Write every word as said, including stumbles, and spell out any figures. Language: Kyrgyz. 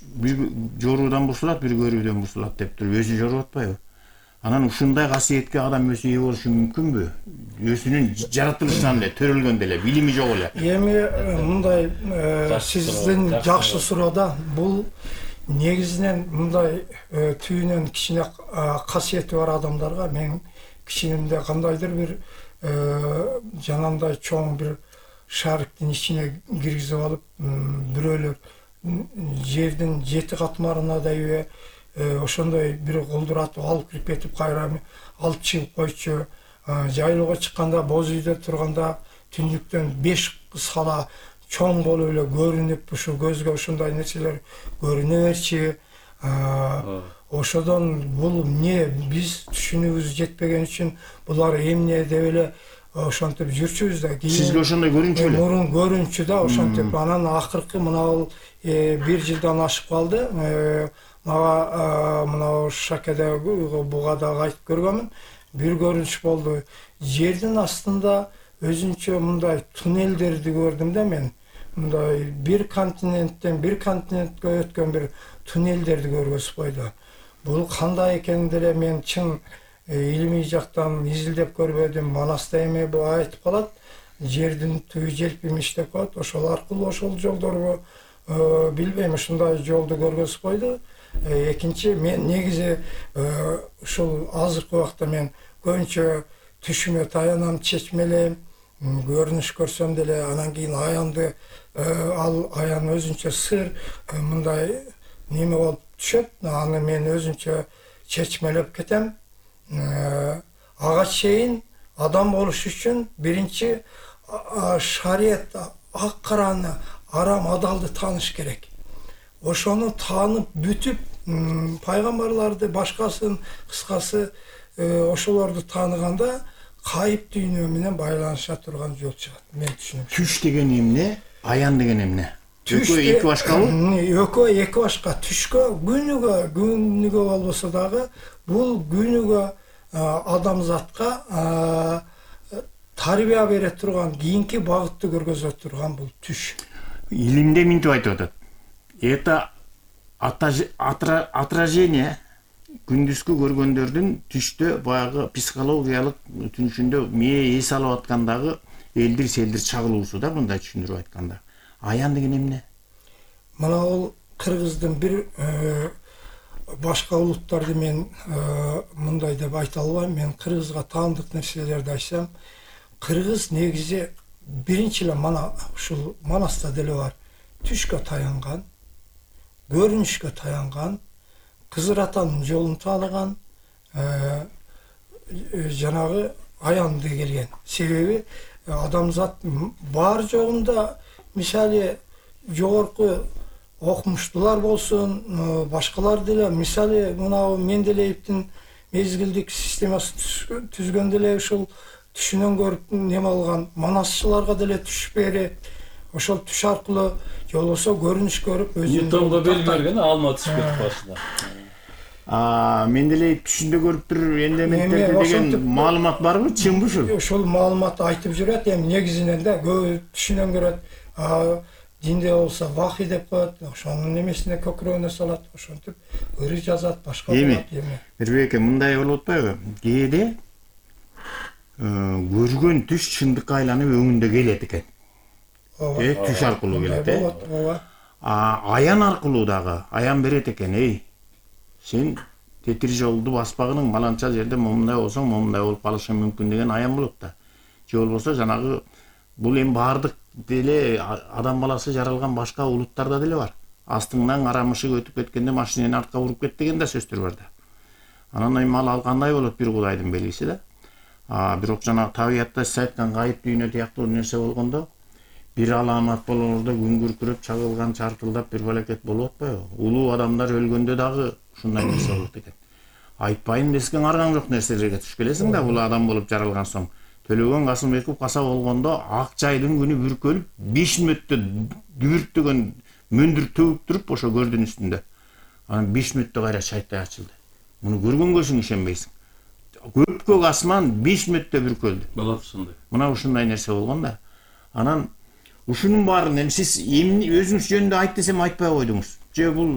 бир жоруудан бушулат, бир көрүүдөн бушулат деп туруп өзү жоруп атпайбы? Анан ушундай касиетке адам өзү ээ болушу мүмкүнбү? Өзүнүн жаратылышынан эле, төрөлгөндө эле, билими жок эле. Эми мындай сиздин жакшы суроо да. Бул негизинен мындай түйүнөн кичине касиети бар адамдарга мен кичинемде кандайдыр бир жанагындай чоң бир шариктин ичине киргизип алып, бирөөлөр жердин жети катмарынадайбы ошондой бир колдуратып алып кирип кетип, кайра алып чыгып койчу. Жайлоого чыкканда, боз үйдө турганда түндүктөн беш сала чоң болуп эле көрүнүп, ушу көзгө ошондой нерселер көрүнө берчи. Ошодон бул эмне, биз түшүнүүбүз жетпеген үчүн булар эмне деп эле ошентип жүрчүбүз да. Сизге ошондой көрүнчү эле? Мурун көрүнчү да ошентип. Анан акыркы мына бир жылдан ашып калды. Мага мына Шакеде бугада кайтып көргөмүн. Бир көрүнүш болду. Жердин астында өзүнчө мындай туннелдерди көрдүм да мен. Мындай бир континенттен бир континентке өткөн бир туннелдерди көргөзүп койду. Бул кандай экенин деле мен чын илимий жактан изилдеп көрбөдүм. Манаста эми бул айтып калат. Жердин түбү желпимиш деп коет. Ошол аркылуу ошол жолдорго билбейм, ушундай жолду көргөзүп койду. Экинчи, мен негизи ушул азыркы убакта мен көбүнчө түшүмө таянам, чечмелейм, көрүнүш көрсөм деле анан кийин аянды, ал аян өзүнчө сыр мындай неме болуп түшөт, аны мен өзүнчө чечмелеп кетем. Ага чейин адам болуш үчүн биринчи шарият ак караны, арам адалды тааныш керек. Ошону таанып бүтүп, пайгамбарларды, башкасын, кыскасы ошолорду тааныганда кайып дүйнө менен байланыша турган жол чыгат. Мен түшүнөм. Түш деген эмне? Аян деген эмне? Экөө эки башкабы? Экөө эки башка. Түшкө күнүгө, күнүгө болбосо дагы бул күнүгө адамзатка тарбия бере турган, кийинки багытты көргөзө турган бул түш. Илимде минтип айтып атат. Это отражение күндүзгү көргөндөрдүн түштө баягы психологиялык түнүшүндө мээ эс алып аткандагы элдир селдир чагылуусу да, мындай түшүндүрүп айтканда. Аян деген эмне? Мына бул кыргыздын бир башка улуттарды мен мындай деп айта албайм. Мен кыргызга таандык нерселерди айтсам, кыргыз негизи биринчи эле мана ушул Манаста деле бар. Түшкө таянган, көрүнүшкө таянган, Кызыр атанын жолун тааныган, жанагы аянды келген. Себеби адамзат бар жогунда, мисалы жогорку окумуштуулар болсун, башкалар деле, мисалы мына Менделеевдин мезгилдик системасын түзгөндө эле ушул түшүнөн көрүп неме алган манасчыларга деле түш берет. Ошол түш аркылуу же болбосо көрүнүш көрүп өзүнүн Ньютонго белгилеген алма түшүп кетип башында. А Менделеев түшүндө көрүптүр элементтерди деген маалымат барбы, чынбы ушул? Ошол маалыматты айтып жүрөт, эми негизинен да көбү түшүнөн көрөт. Динде болсо вахий деп коет, ошонун немесине көкүрөгүнө салат, ошентип ыры жазат, башка болот эми. Бирбеке, мындай болуп атпайбы? Кээде көргөн түш чындыкка айланып өңүндө келет экен. Э, түш аркылуу келет, э. А аян аркылуу дагы аян берет экен, эй. Сен тетир жолду баспагының баланча жерде момундай болсоң, момундай болуп калышың мүмкүн деген аян болот да. Же болбосо жанагы бул эми баардык деле адам баласы жаралган башка улуттарда деле бар. Астыңдан кара мышык өтүп кеткенде машинени артка буруп кет деген да сөздөр бар да. Анан эми ал кандай болот, бир кудайдын белгиси да. А бирок жана табиятта сиз айткан кайып дүйнө тияктуу нерсе болгондо бир аламат болоордо күн күркүрөп чагылган, чартылдап бир балекет болуп атпайбы? Улуу адамдар өлгөндө дагы ушундай нерсе болот экен. Айтпайын дескен аргаң жок нерселерге туш келесиң да, бул адам болуп жаралган соң. Төлөгөн Касымбеков каса болгондо ак жайдын күнү бүркөлүп, беш мүнөттө дүбүрттөгөн мөндүр төгүп туруп ошо көрдүн үстүндө. Анан беш мүнөттө кайра чайтай ачылды. Муну көргөнгө өзүң ишенбейсиң. Көпкөк асман беш мүнөттө бүркөлдү. Болот ушундай. Мына ушундай нерсе болгон да. Анан ушунун баарын эми сиз өзүңүз жөнүндө айт десем айтпай койдуңуз. Же бул